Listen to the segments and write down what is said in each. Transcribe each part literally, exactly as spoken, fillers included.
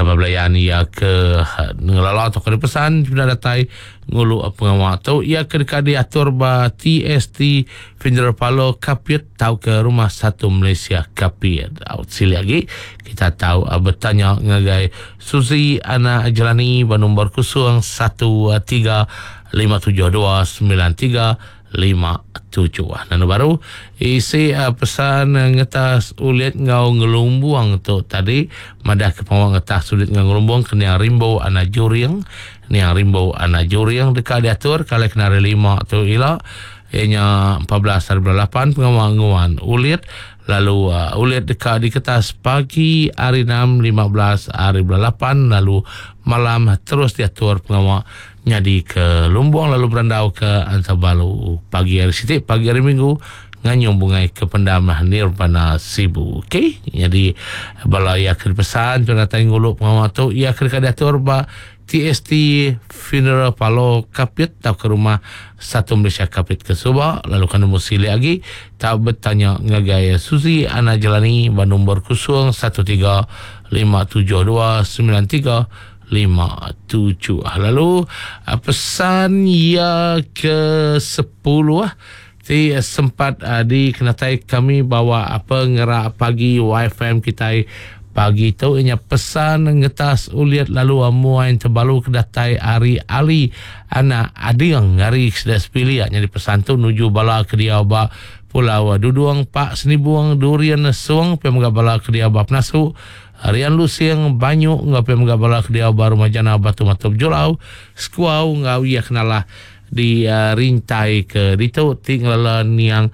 Kaban belayan iya ke ngelala atau ke pesan sudah datai ngulu pengawa tu ia ke deka diatur ba T S T Funeral Parlour Kapit tau ke Rumah Satu Malaysia Kapit. Out sili lagi kita tahu uh, bertanya ngagai Suzy Anak Jelani ba nombor kosong satu tiga lima tujuh dua sembilan tiga lima tujuh. Nanu baru isi uh, pesan uh, ngetas ulit ngau ngelumbuang tu tadi madah ke pengawal ngetas ulit ngau ngelumbuang ke niang Rimbo Anak Juring. Niang Rimbo Anak Juring dekat diatur kalau kena hari lima tu ila ianya empat belas hari bulan lapan pengawal nguan ulit, lalu uh, ulit dekat di kertas pagi hari enam lima belas hari bulan lapan, lalu malam terus diatur pengawal nyadi ke Lumbung lalu berandau ke Antabalu pagi hari Siti, pagi hari Minggu nganyung bungai ke pendam Nirvana Sibu. Okey, jadi bala ya ke pesan tu datang ngulu pengawal tu ia ke diatur ba T S T Funeral Parlour Kapit atau ke Rumah Satu Malaysia Kapit ke Suba, lalu kan nombor sili lagi tak bertanya ngagai Suzy Ana Jelani ba nombor kosong satu tiga lima tujuh dua sembilan tiga lima tujuh. Lalu ah, pesan ya ke sepuluh ti sempat uh, dikenatai kami bawa apa ngerak pagi Y F M kita pagi tu inya pesan ngetas uliat lalu amuan terbalu kedatai hari Ali Anak Ading hari sudah sepilih. Jadi pesan tu nuju bala ke dia ba Pulau Duduang, Pak Senibuang, Durian Suang, pe bala ke dia ba Penasu, Rian Lusing, Banyu, ngau pe bala ke dia ba Rumah Jana Batu Matup Julau, Sekuau ngau ia kenalah di uh, rintai ke ditu tinggal niang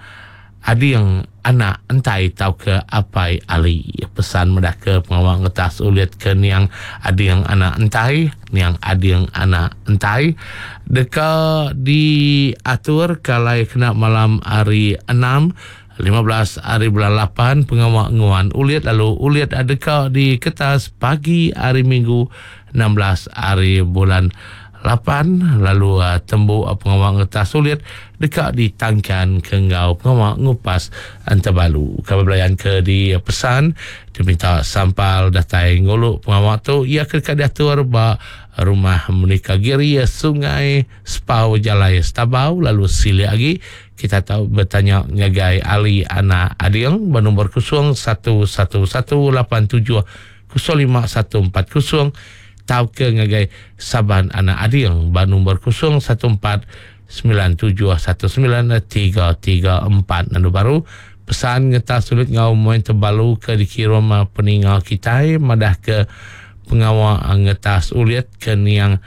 Ading Anak Entai tau ke Apai Ali. Pesan medah ke pengawal ngetas ulit ke niang Ading Anak Entai, niang Ading Anak Entai deka diatur kalai kena malam hari enam lima belas hari bulan lapan pengawal nguan ulit, lalu ulit adeka di kertas pagi hari Minggu enam belas hari bulan lapan, lalu uh, tembu uh, pengawal ngetas sulit dekat ditangkan ke ngau pengawal ngupas antabalu. Kami belayan ke di uh, pesan diminta sampal datai nguluk pengawal tu ia ke dekat diatur ba Rumah Menikah Giri, Sungai Spau, Jalai Stabau, lalu sili lagi kita tahu bertanya ngagai Ali Anak Ading bernombor kosong satu satu satu lapan tujuh kosong lima satu empat kosong tau ke ngagai Saban Anak Ading bernombor kosong satu empat sembilan tujuh satu sembilan tiga tiga empat. Lalu baru pesan ngetas sulit ngau main terbalu ke dikirim peninggal kita madah ke pengawal ngetas uliat ke niang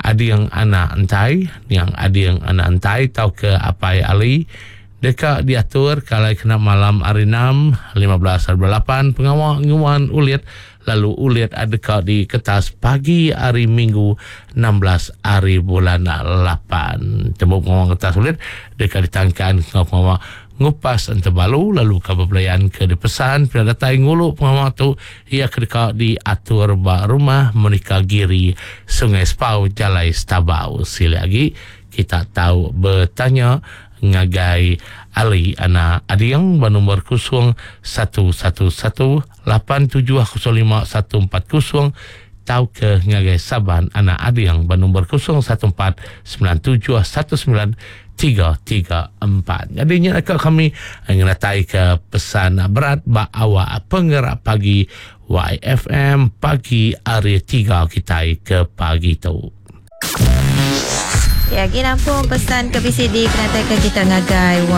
Ading Anak Entai, niang Ading Anak Entai tau ke Apai Ali dekat diatur kalau kena malam hari enam lima belas lapan pengawal nguan uliat, lalu uliat adeka di kertas pagi hari Minggu enam belas hari bulan lapan temu pengawal kertas uliat dekat ditangkan pengawal ngupas antabalu. Lalu kabar belayan ke dipesan pada datai ngulu pengawal tu ia kedeka diatur ba Rumah Monica Giri, Sungai Spau, Jalai Stabau. Sila lagi kita tahu bertanya ngagai Ali Anak Adiang bernombor kosong satu satu satu lapan tujuh kosong lima satu empat kosong tau ke ngagai Saban Anak Adiang bernombor kosong satu empat sembilan tujuh satu sembilan tiga tiga empat. Jadi nak kami ngenatai ke pesan berat ba awak penggerak pagi Y F M pagi hari tiga kita ke pagi tu. Ya, gini pun pesan ke B C D kena ke kita ngagai